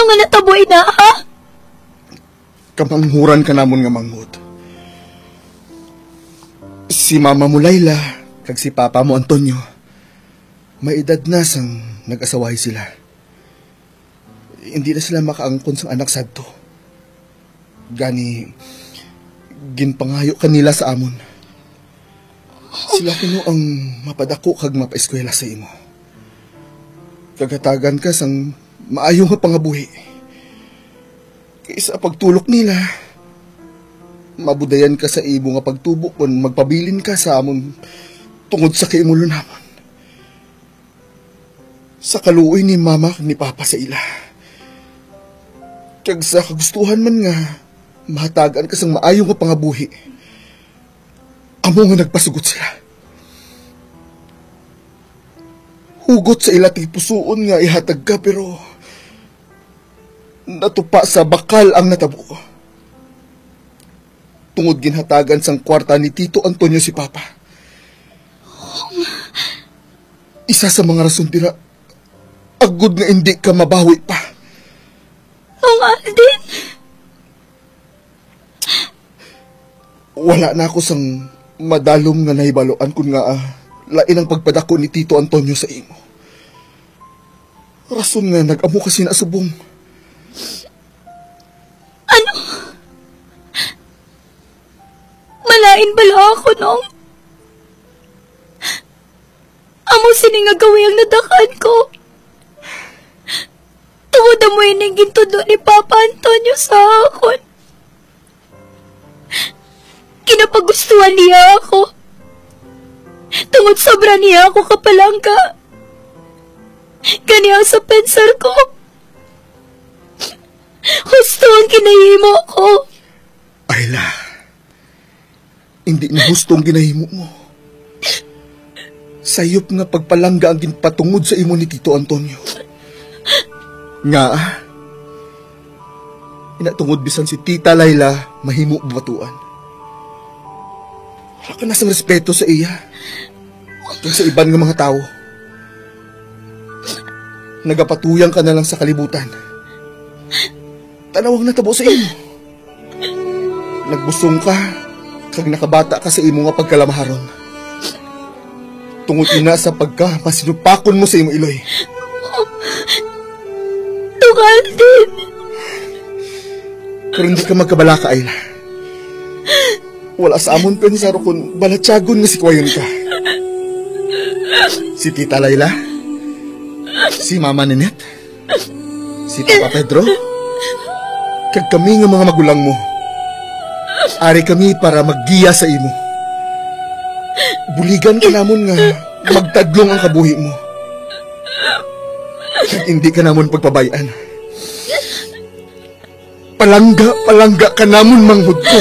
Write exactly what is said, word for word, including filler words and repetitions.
Nga natabo ina, ha? Kamanghuran ka namon nga manghod. Si mama mo, Laila, kag si papa mo, Antonio, may edad na sang nag-asawahi sila. Hindi na sila makaangkon sang anak sadto. Gani, ginpangayo ka nila sa amon. Sila kuno ang mapadako kag mapaeskwela sa imo. Kag hatagan ka sang maayo nga pangabuhi. Kay sa pagtulok nila, mabudayan ka sa imo nga pagtubo kon magpabilin ka sa amon tungod sa kaimulo-namon. Sa kaluoy ni mama kag ni papa sa ila, kag sa kagustuhan man nga mahatagan ka sang maayo nga pangabuhi, amo nga nagpasugot sila. Hugot sa ila tagipusoon nga ihatag ka, pero natupa sa bakal ang natabo. Tungod ginhatagan sang kwarta ni Tito Antonio si Papa. Isa sa mga rason dira, agod nga indi ka mabawi pa. Ong Alden. Wala na ako sang madalom nga nahibaluan kon ngaa lain ang pagpadako ni Tito Antonio sa imo. Rason nga nag-amo ka sina subong. Ano? Malain bala ako, Nong? Amo sini nga gawi ang nadakan ko. Tungod amo ining gintudlo ni Papa Antonio sa akon. Ginapagustuhan niya ako. Tungod sobra niya ako kapalangga. Gani ang sa pensar ko, husto ang ginahimo ko. Ayla, hindi na husto ang ginahimo mo. Sayop nga pagpalangga ang ginpatungod sa imo ni Tito Antonio. Nga, ina tungod bisan si Tita Laila mahimo batuan. Wala ka na sang respeto sa iya kag sa iban nga mga tawo. Nagapatuyang ka na lang sa kalibutan. Tan-awa ang natabo sa imo. Nagbusong ka, kag nakabata ka sa imo nga pagkalamaharon. Tungod ina sa pagka masinupakon mo sa imo iloy. Tungal din. Pero hindi ka magkabalaka, Ayla. Wala sa amon pensar kon balatyagon nga sikwayon ka. Si Tita Layla, si Mama Ninette, si Papa Pedro, kag kami nga mga magulang mo. Ari kami para maggiya sa imo. Buligan ka namon nga magtadlong ang kabuhi mo. Kag hindi ka namon pagpabay-an. Palangga, palangga ka namon, manghod ko.